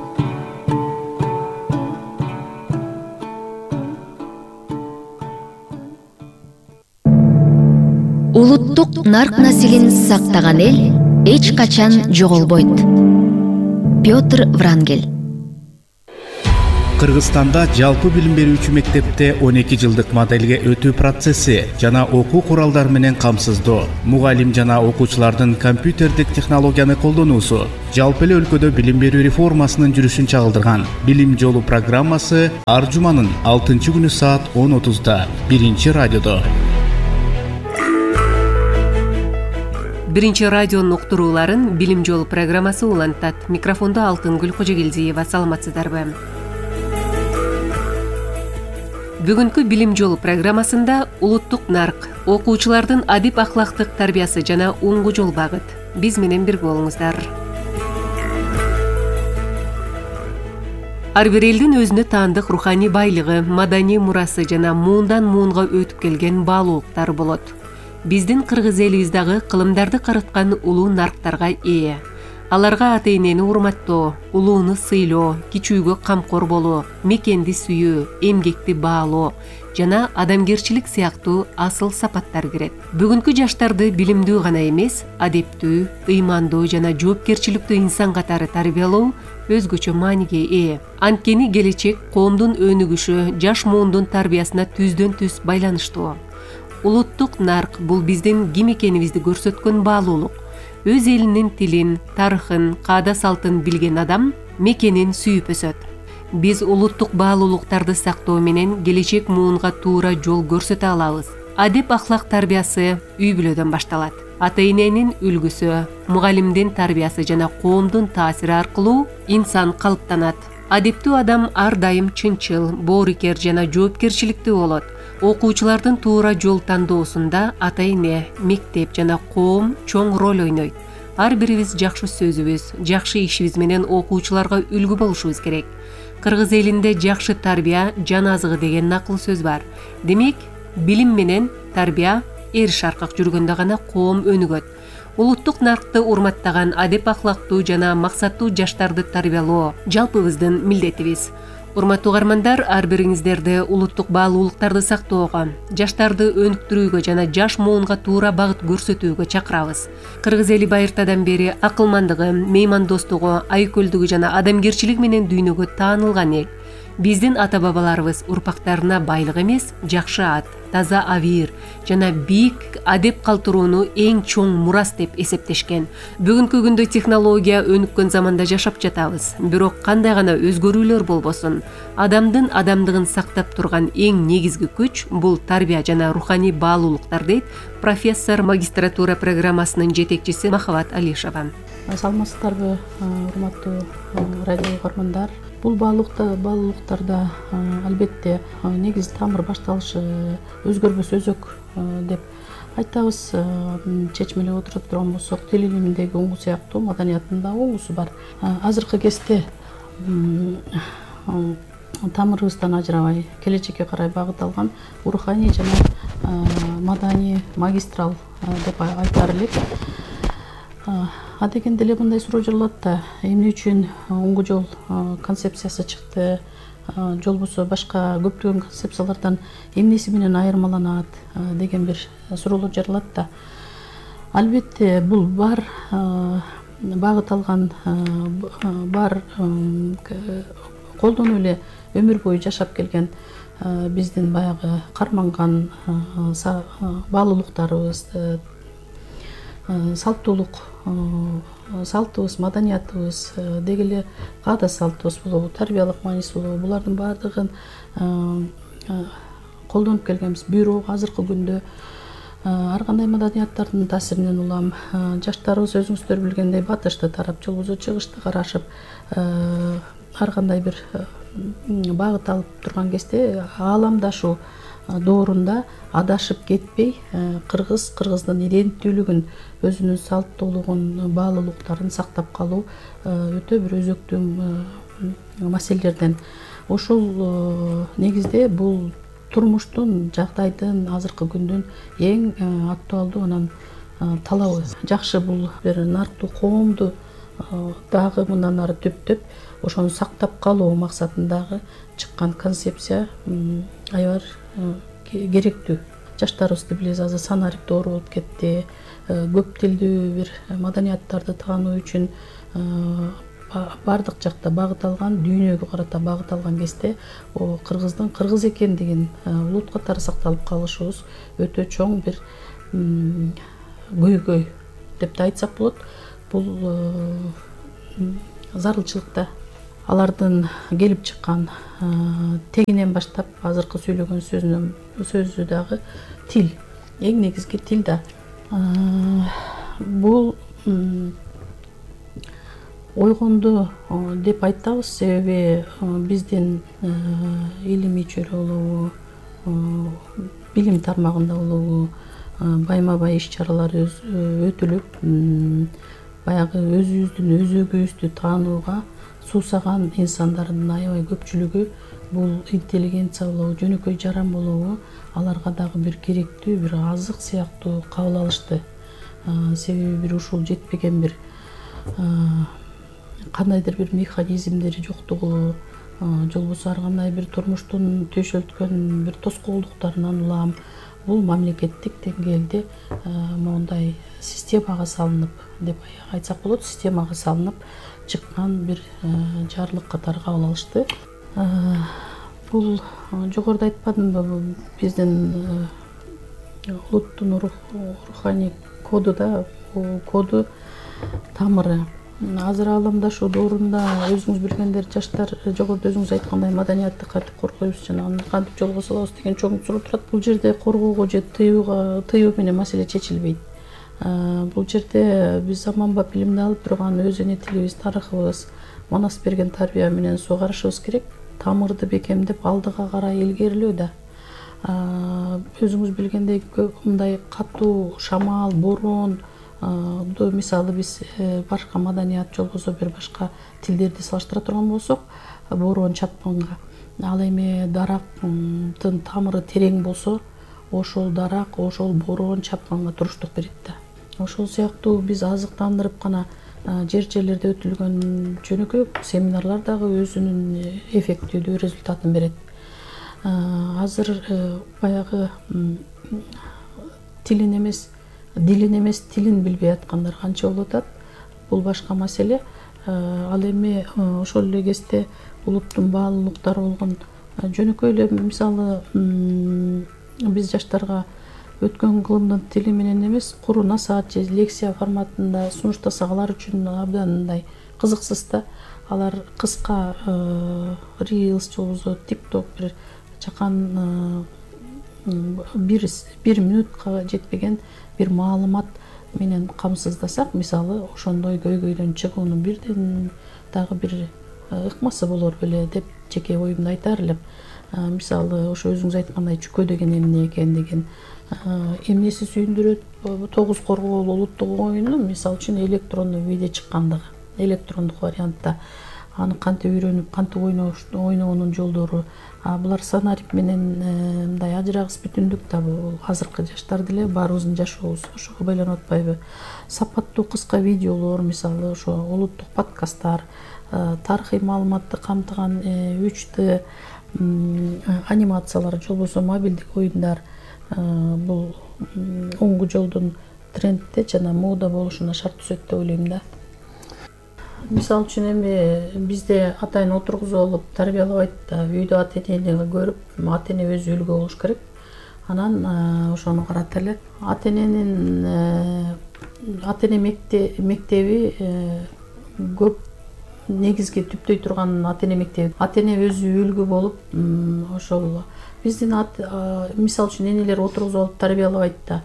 Улуттук нарк насилин сактаган эл эч качан жоголбойт. Петр Врангель. Кыргызстанда жалпы билим берүүчү мектепте 12 жылдык моделге өтүү процесси жана окуу куралдары менен камсыздоо, мугалим жана окуучулардын компьютердик технологияны колдонуусу жалпы эле өлкөдө билим берүү реформасынын жүрүшүн чагылдырган. Билим жолу программасы ар жуманын 6-күнү саат 10:30 биринчи радиодо. Биринчи радионун уктурууларын Билим жолу программасы улантат. Микрофондо Алтынгүл Кожогелдиева. Саламатсыздарбы? Бүгүнкү Билим жолу программасында улуттук нарк, окуучулардын адип ахлактык тарбиясы жана уңгу жол багыт. Биз менен бирге болуңуздар. Ар бир элдин өзүнө таандык руханий байлыгы, маданий мурасы жана муундан муунга өтүп келген баалуулуктары болот. Биздин кыргыз элибиз дагы кылымдарды карыткан улуу нарктарга ээ. Аларга ата-энени урматтоо, улууну сыйлоо, кичүүгө камкор болуу, мекенди сүйүү, эмгекти баалоо жана адамгерчилик сыяктуу асыл сапаттар кирет. Бүгүнкү жаштарды билимдүү гана эмес, адептүү, ыймандуу жана жоопкерчиликтүү инсан катары тарбиялоо өзгөчө мааниге ээ. Анткени келечек коомдун өнүгүшү жаш муундун тарбиясына түздөн түз байланыштуу. Улуттук нарк бул биздин ким экенибизди көрсөткөн баалуулук. Өз элинин тилин, тарыхын, каада салтын билген адам мекенин сүйүп өсөт. Биз улуттук баалуулуктарды сактоо менен келечек муунга туура жол көрсөтө алабыз. Адеп ахлак тарбиясы үй бүлөдөн башталат. Ата-эненин үлгүсү, мугалимдин тарбиясы жана коомдун таасири аркылуу инсан калыптанат. Адептүү адам ар дайым чынчыл, боорукер жана жоопкерчиликтүү болот. Окуучулардын туура жол тандоосунда ата-эне, мектеп жана коом чоң роль ойнойт. Ар бирибиз жакшы сөзүбүз, жакшы ишибиз менен окуучуларга үлгү болушубуз керек. Кыргыз элинде жакшы тарбия жан азыгы деген накыл сөз бар. Демек, билим менен тарбия эриш аркак жүргөндө гана коом өнүгөт. Улуттук наркты урматтаган адеп ахлактуу жана максаттуу жаштарды тарбиялоо жалпыбыздын милдетибиз. Урматтуу угармандар, ар бириңиздерди улуттук баалуулуктарды сактоого, жаштарды өнүктүрүүгө жана жаш муунга туура багыт көрсөтүүгө чакырабыз. Кыргыз эли байыртадан бери акылмандыгы, меймандостугу, айкөлдүгү жана адамгерчилиги менен дүйнөгө таанылган эл. Биздин ата-бабаларыбыз урпактарына байлык эмес, жакшы ат, таза абийир жана бийик адеп калтырууну эң чоң мурас деп эсептешкен. Бүгүнкү күндө технология өнүккөн заманда жашап жатабыз. Бирок кандай гана өзгөрүүлөр болбосун, адамдын адамдыгын сактап турган эң негизги күч бул тарбия жана руханий баалуулуктар дейт профессор магистратура программасынын жетекчиси Махабат Алишева. Саламатсыздарбы, урматтуу радио угармандар. Бул баалуулуктарда албетте негиз тамыр башталышы өзгөрбөс өзөк деп айтабыз. Чечмелеп отуруп турган болсок, тил илиминдеги уңгу сыяктуу маданиятында да уңгусу бар. Азыркы кезде тамырыбыздан ажырабай келечекке карай багыт алган руханий жана маданий магистрал деп айтар элек. Адегенде эле мындай суроо жаралат да, эмне үчүн уңгу жол концепциясы чыкты, же болбосо башка көптөгөн концепциялардан эмнеси менен айырмаланат деген бир суроолор жаралат да. Албетте бул бар багыт алган, бар колдонуп эле өмүр бою жашап келген биздин баягы карманган баалуулуктарыбыз, салтыбыз, маданиятыбыз, деги эле каада салтыбыз болобу, тарбиялык мааниси болобу, булардын баардыгын колдонуп келгенбиз. Бирок азыркы күндө ар кандай маданияттардын таасиринен улам жаштарыбыз өзүңүздөр билгендей батышты тарап, же болбосо чыгышты карашып, ар кандай бир багыт алып турган кезде ааламдашуу доорунда адашып кетпей, кыргыздын иденттүүлүгүн, өзүнүн салттуулугун, баалуулуктарын сактап калуу өтө бир өзөктүү маселелерден. Ошол негизде бул турмуштун, жагдайдын, азыркы күндүн эң актуалдуу анан талабы. Жакшы бул бир нарктуу коомду дагы мындан ары түптөп, ошону сактап калуу максатындагы чыккан концепция аябар керектүү. Жаштарыбызды билебиз, азыр санарип доору болуп кетти. Көп тилдүү бир маданияттарды таануу үчүн бардык жакта багыт алган, дүйнөгө карата багыт алган кезде кыргыздын кыргыз экендигин улут катары сакталып калышыбыз өтө чоң бир көйгөй деп да айтсак болот. Бул зарылчылыкта алардын келип чыккан тегинен баштап азыркы сүйлөгөн сөзү дагы тил, эң негизги тил да. Бул ойгонду деп айтабыз, себеби биздин илимий чөйрө болобу, билим тармагында улуу байма бай иш чаралары өтүлүп, баягы өзүбүздүн өзөгүбүздү таанууга суусаган инсандардын аябай көпчүлүгү бул интеллигенция болобу, жөнөкөй жаран болобу, аларга дагы бир керектүү бир азык сыяктуу кабыл алышты. Себеби бир ушул жетпеген бир кандайдыр бир механизмдери жоктугу, же болбосо ар кандай бир турмуштун төшөлткөн бир тоскоолдуктарынан улам бул мамлекеттик деңгээлде моундай системага салынып, деп айтсак болот, системага салынып чыккан бир жарлык катары кабыл алышты. Бул жогоруда айтпадымбы, биздин улуттун руханий коду да, коду тамыры. Азыр аламдашу доорунда өзүңүз билгендер, жаштар жогоруда өзүңүз айткандай маданиятты кантип коргойбуз, жана аны кантип жолго салабыз деген чоң суроо турат. Бул жерде коргоого же тыюу менен маселе чечилбейт. Бул жерде биз заманбап билимди алып турган өз эне тилибиз, тарыхыбыз, манас берген тарбия менен сугарышыбыз керек. Тамырды бекемдеп алдыга карай илгерилөө да. Өзүңүз билгендей мындай катуу шамал, борон, мисалы биз башка маданият же болбосо бир башка тилдерди салыштыра турган болсок, борон чапканга, ал эми дарактын тамыры терең болсо, ошол дарак, ошол борон чапканга туруштук берет да. Ошол сыяктуу биз азыктандырып гана жерлерде өтүлгөн жөнөкөй семинарлар дагы өзүнүн эффективдүү результатын берет. Азыр баягы дилин эмес тилин билбей аткандар канча болуп атат. Бул башка маселе. Ал эми ошол эле кезде улуттун баалуулуктары болгон жөнөкөй эле мисалы биз жаштарга өткөн кылымдын тили менен эмес, куру насаат же лекция форматында сунуштасак алар үчүн абдан мындай кызыксыз да. Алар кыска Reels же болбосо TikTok бир чакан бир минутка жетпеген бир маалымат менен камсыздасак, мисалы ошондой көйгөйдөн чыгуунун бирден дагы бир ыкмасы болор беле деп жеке оюмду айтар элем. Мисалы ошо өзүңүз айткандай чүкө деген эмне экен деген эмнеси сүйүндүрөт, 9 коргоолуу улуттук оюнун мисалы үчүн электрондуу виде чыккандыгы, электрондук вариантта аны кантип үйрөнүп, кантип ойноонун жолдору. Булар санарип менен мындай ажырагыс бүтүндүк да, бул азыркы жаштар деле баарыбыздын жашообуз ошого байланып атпайбы? Сапаттуу кыска видеолор, мисалы ошо улуттук подкасттар, тарыхый маалыматты камтыган 3D анимациялар же болбосо мобилдик оюндар бул оңгу жолдун трендте жана мода болушуна шарт түзөт деп ойлойм да. Мисалы үчүн эми бизде атайын отургузуп алып тарбиялабайт да, үйдө ата-энени көрүп, ата-эне өзү үлгү болуш керек. Анан ошону карата эле. Ата-эне мектеби көп негизги түптөй турган ата-эне мектеби. Ата-эне өзү үлгү болуп, ошол биздин мисалы үчүн энелер отургузуп алып тарбиялабайт да.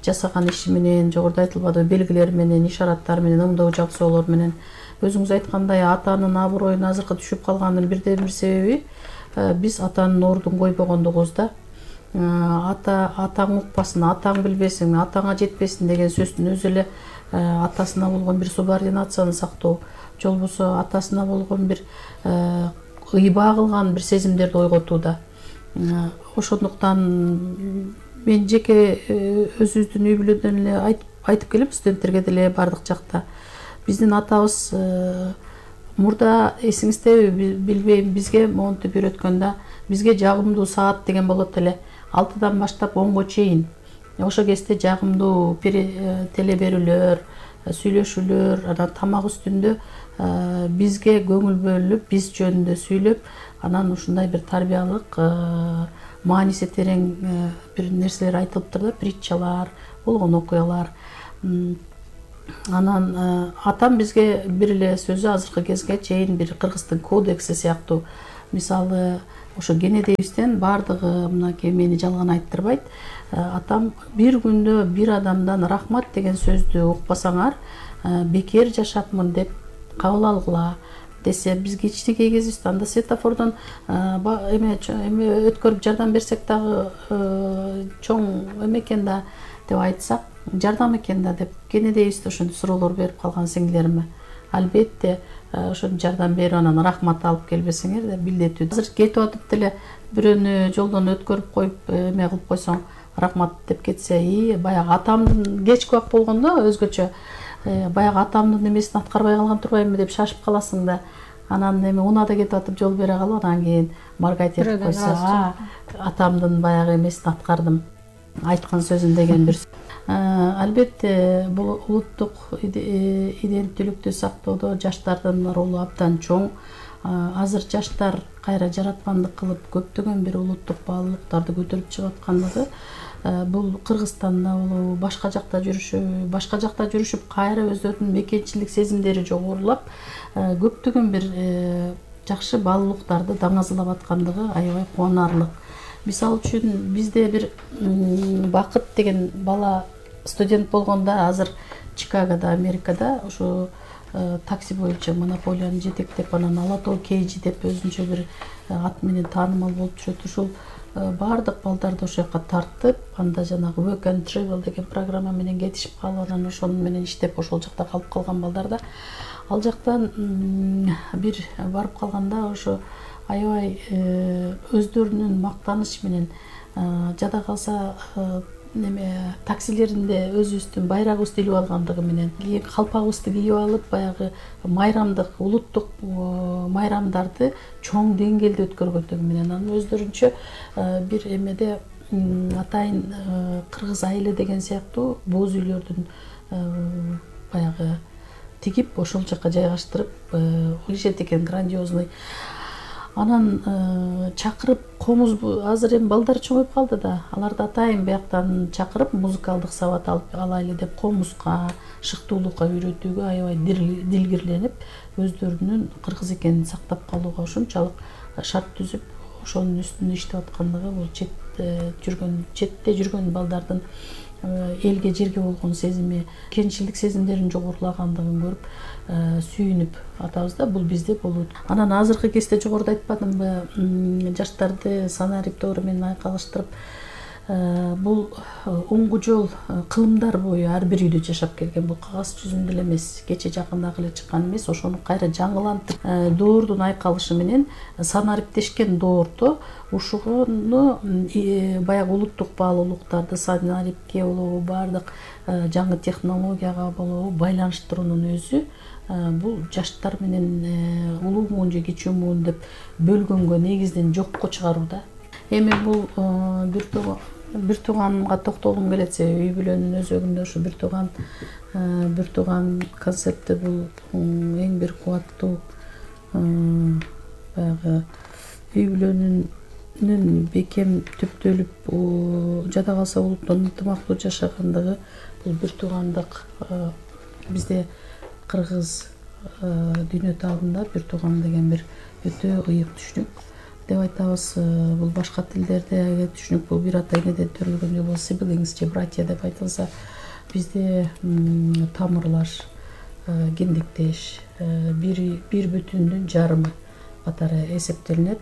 Жасаган иши менен, жогоруда айтылбады, белгилер менен, ишараттар менен, ымдоо жаксоолор менен. Өзүңүз айткандай атанын аброюн азыркы түшүп калганын бирден бир себеби биз атанын ордун койбогондугубуз да. Атаң укпасын, атаң билбесин, атаңа жетпесин деген сөздүн өзү эле атасына болгон бир субординацияны сактоо, же болбосо атасына болгон бир ыйбаа кылган бир сезимдерди ойготууда. Ошондуктан мен жеке өзүбүздүн үй бүлөдөн эле айтып келем, студенттерге деле бардык жакта. Биздин атабыз мурда эсиңиздеби билбейм, бизге монтип үйрөткөндө бизге жагымдуу саат деген болот эле. 6-дан баштап 10го чейин. Ошо кезде жагымдуу теле берүүлөр, сүйлөшүүлөр, анан тамак үстүндө бизге көңүл бөлүнүп, биз жөнүндө сүйлөп, анан ушундай бир тарбиялык мааниси терең бир нерселер айтылыптыр да, притчалар, болгон окуялар. Анан атам бизге бир эле сөзү азыркы кезге чейин бир кыргыздын кодекси сыяктуу. Мисалы ошо кенедейибизден баардыгы мынакей мени жалган айттырбайт. Атам бир күндө бир адамдан рахмат деген сөздү укпасаңар, бекер жашапмын деп кабыл алгыла. десе бизге эчтеке кезибиз анда светофордон эме өткөрүп жардам берсек дагы чоң эме экен да деп айтсак, жардам экен да деп кенедейбиз да ошентип суроолор берип калган сиңдилериме. Албетте ошентип жардам берип анан рахмат алып келбесеңер деп билдетүү. Азыр кетип атып деле бирөөнү жолдон өткөрүп коюп эме кылып койсоң, рахмат деп кетсе, баягы атамдын кечки убак болгондо өзгөчө баягы атамдын эмесин аткарбай калган турбаймынбы деп шашып каласың да. Анан эми унаада кетип атып жол бере калып, анан кийин маргайт этип койсо, атамдын баягы эмесин аткардым, айткан сөзүн деген бир. Албетте бул улуттук иденттүүлүктү сактоодо жаштардын ролу абдан чоң. Азыр жаштар кайра жараткандык кылып көптөгөн бир улуттук баалуулуктарды көтөрүп чыгып аткандыгы бул Кыргызстанда болобу, башка жакта жүрүшүп кайра өздөрүнүн мекенчилик сезимдери жогорулап, көптөгөн бир жакшы баалуулуктарды даңазалап аткандыгы аябай кубанарлык. Мисалы үчүн бизде бир Бакыт деген бала студент болгондо азыр Чикагода, Америкада ушу такси боюнча монополияны жетектеп, анан Ала Тоо Кейжи деп өзүнчө бир ат менен таанымал болуп жүрөт. Ушул баардык балдарды ошол жака тартып, анда жанагы Work and Travel деген программа менен кетишип калып, анан ошону менен иштеп ошол жакта калып калган балдарда, ал жактан бир барып калганда ошо аябай өздөрүнүн мактаныч менен, жада калса неме таксилеринде өзүбүздүн байрагыбызды илип алгандыгы менен, кийин калпагыбызды кийип алып, баягы майрамдык, улуттук майрамдарды чоң деңгээлде өткөргөндүгү менен, анан өздөрүнчө бир эмеде атайын кыргыз айылы деген сыяктуу боз үйлөрдүн баягы тигип ошол жака жайгаштырып коюшат экен, грандиозный. Анан чакырып комуз, азыр эми балдар чоңоюп калды да, аларды атайын бияктан чакырып музыкалдык сабат алайлы деп комузга, шыктуулукка үйрөтүүгө аябай дилгирленип, өздөрүнүн кыргыз экенин сактап калууга ушунчалык шарт түзүп, ошонун үстүндө иштеп аткандыгы бул четте жүргөн балдардын элге жерге болгон сезими, кенчилдик сезимдеринин жогорулагандыгын көрүп сүйүнүп атабыз да, бул бизде болот. Анан азыркы кезде жогоруда айтпадымбы, жаштарды санариптоору менен айкалыштырып, бул оңгу жол кылымдар бою ар бир үйдө жашап келген. Бул кагаз жүзүндө эле эмес, кече жакындагы эле чыккан эмес, ошону кайра жаңылантып, доордун айкалышы менен санариптешкен доордо ушуну баягы улуттук баалуулуктарды санарипке болобу, баардык жаңы технологияга болобу байланыштыруунун өзү бул жаштар менен улуу муун же кичүү муун деп бөлгөнгө негизден жокко чыгарууда. Эми бул бир тууганга токтолгум келет, себеби үй бүлөнүн өзөгүндө ушу бир тууган концепти бул эң бир кубаттуу баягы үй бүлөнүн бекем түптөлүп, жада калса улуттун ынтымактуу жашагандыгы, бул бир туугандык бизде кыргыз дүйнө таалында бир тууган деген бир өтө ыйык түшүнүк деп айтабыз. Бул башка тилдерде түшүнүк бул бир ата энеден төрөлгөн же болбосо siblings же братья деп айтылса, бизде тамырлаш, гендиктеш, бир бүтүндүн жарымы катары эсептелинет.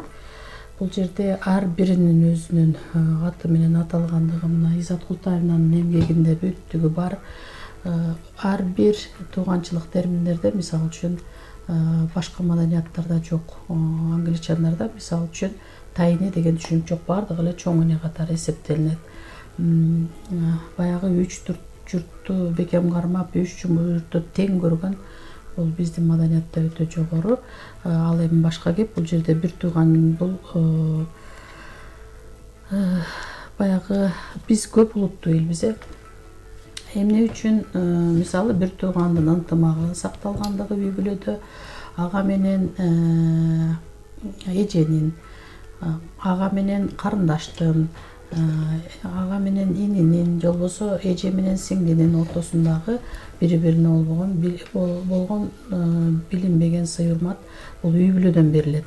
Бул жерде ар биринин өзүнүн аты менен аталгандыгы мына Изат Култаевнанын эмгегинде бүттүгү бар. Ар бир тууганчылык терминдерде, мисалы үчүн башка маданияттарда жок, англичандарда мисалы үчүн тайне деген түшүнүк жок, баардыгы эле чоң эне катары эсептелинет. Баягы 3 журтту бекем кармап, 3 журтту тең көргөн бул биздин маданиятта өтө жогору. Ал эми башка кеп, бул жерде бир тууган бул баягы биз көп улуттуу элбиз. Эмне үчүн мисалы бир туугандын ынтымагы сакталгандыгы үй бүлөдө, ага менен эженин, ага менен карындаштын, ага менен ининин, же болбосо эже менен сиңдинин ортосундагы бири-бирине болгон билинбеген сый урмат бул үй бүлөдөн берилет.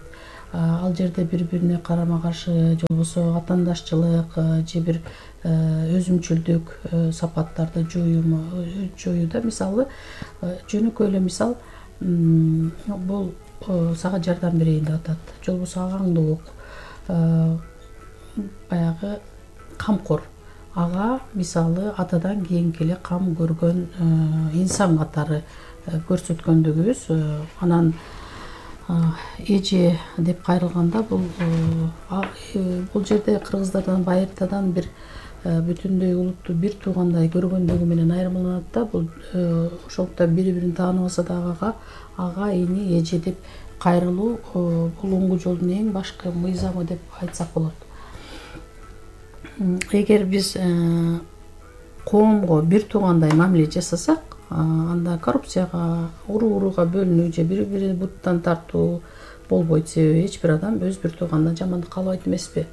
Ал жерде бири-бирине карама каршы же болбосо атаандашчылык же бир өзүмчүлдүк сапаттарды жоюуда, мисалы жөнөкөй эле мисал, бул сага жардам берейин деп атат, же болбосо агаңды ук, баягы камкор, ага мисалы атадан кийинки эле кам көргөн инсан катары көрсөткөндүгүбүз. Анан эже деп кайрылганда бул жерде кыргыздардан байыртадан бир бүтүндөй улутту бир туугандай көргөндүгү менен айырмаланат да. Бул ошондуктан бири бирин тааныбаса дагы ага эне эже деп кайрылуу бул оңгу жолдун эң башкы мыйзамы деп айтсак болот. Эгер биз коомго бир туугандай мамиле жасасак, анда коррупцияга, урууга бөлүнүү же бири бирин буттан тартуу болбойт. Себеби эч бир адам өз бир тууганына жамандык каалабайт эмеспи?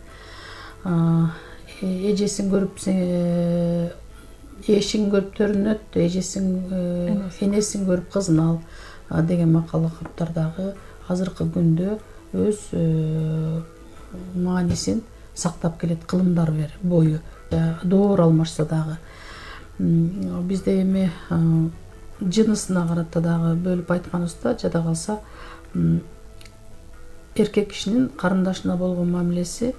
Эжесин көрүп эшин көрүп төрүнөт, энесин көрүп кызын ал деген макал каптар дагы азыркы күндө өз маанисин сактап келет, кылымдар бою доор алмашса дагы. Бизде эми жынысына карата дагы бөлүп айтканыбызда, жада калса эркек кишинин карындашына болгон мамилеси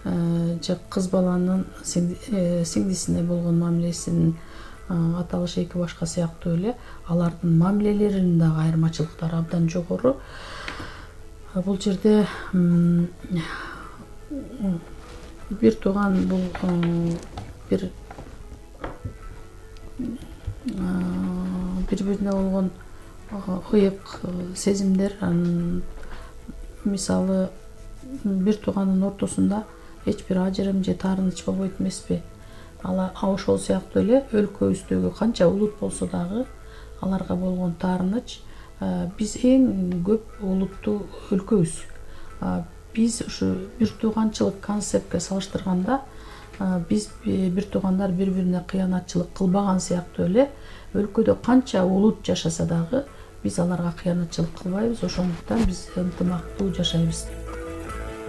же кыз баланын сиңдисине болгон мамилесинин аталышы эки башка сыяктуу эле алардын мамилелеринин дагы айырмачылыктары абдан жогору. Бул жерде бир тууган бул бир бири-бирине болгон ыйык сезимдер. Мисалы бир тууганын ортосунда эч бир ажырым же таарыныч болбойт эмеспи? Ошол сыяктуу эле өлкөбүздөгү канча улут болсо дагы аларга болгон таарыныч. Биз эң көп улуттуу өлкөбүз. Биз ушу бир тууганчылык концептке салыштырганда биз бир туугандар бири-бирине кыянатчылык кылбаган сыяктуу эле өлкөдө канча улут жашаса дагы биз аларга кыянатчылык кылбайбыз. Ошондуктан биз ынтымактуу жашайбыз.